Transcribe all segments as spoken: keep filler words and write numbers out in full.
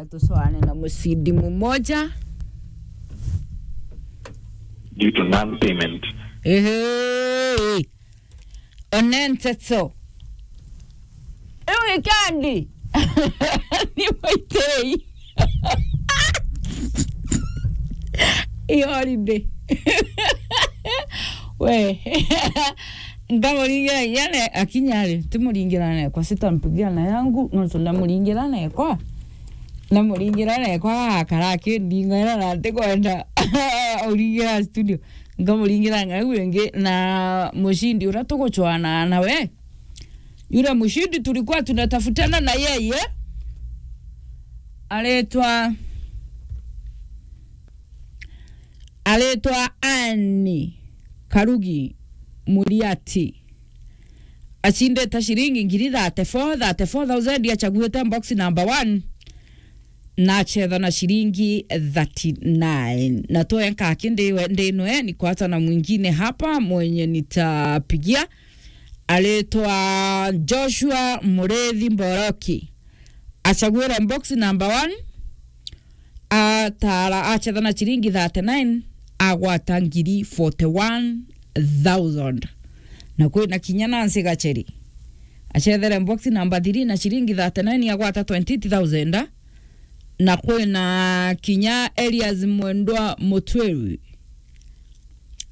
Atucwane na mucindi mumoja. Due to non-payment. Ehe. One nteto. Riu weekend. Ni mwaitei. I holiday. We. Ngamuringira inya ne-, akinya ri, timuringira nekwa, sitampigia na yangu, nontu ndamuringira nekwa. Ndamuringira nekwa, agakara akindingaira na ntikwenda uringira studio. Ngamuringira ng'au ingi na mucindi uria tugucwana nawe. Yule mucindi tulikuwa tunatafutana na yeye, aretwa Aretwa Anne Karugi Muriati. Acindite ciringi ngiri thirty-four, thirty-four thousand, achaguite box number one. Na achetha na ciringi thirty-nine. Na tuenka kindi we, ndinwe, nikwata na mwingine hapa mwenye nitapigia. Aretwa Joshua Murethi Mboroki. Achaguire box number one. Atara achetha na ciringi thirty-nine, agwata ngiri forty-one thousand. Na kwina kinya Nancy Gacheri. Achethere box number three na ciringi thirty-nine, agwata twenty-eight thousand. Na kwina kinya Elias Mwendwa Mutwiri.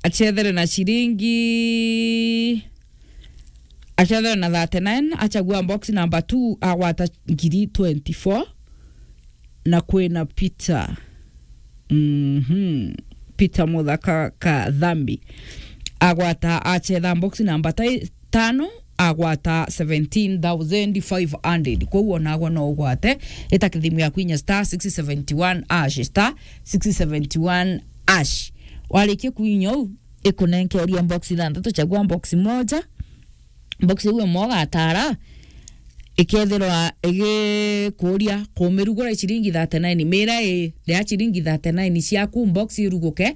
Achethere na ciringi Achethere na thirty-nine, achagua box number two, agwata ngiri twenty-four. Na kwina Peter. Mhm. Peter Muthaka Kathambi. Agwata achetha box number ti-, tano, agwata seventeen thousand five hundred. Kwou onagwa no ugwate, ita kithimu yaku inya star six seventy-one hash, star six seventy-one hash. Warikia kuinya uu, ikunenkeria box ithanthatu, chagua box moja. Box iu imwe ugatara, ikethirwa igikuria kumirugura ciringi thirty-nine. Mira i ria ciringi thirty-nine ciaku, box iruguke,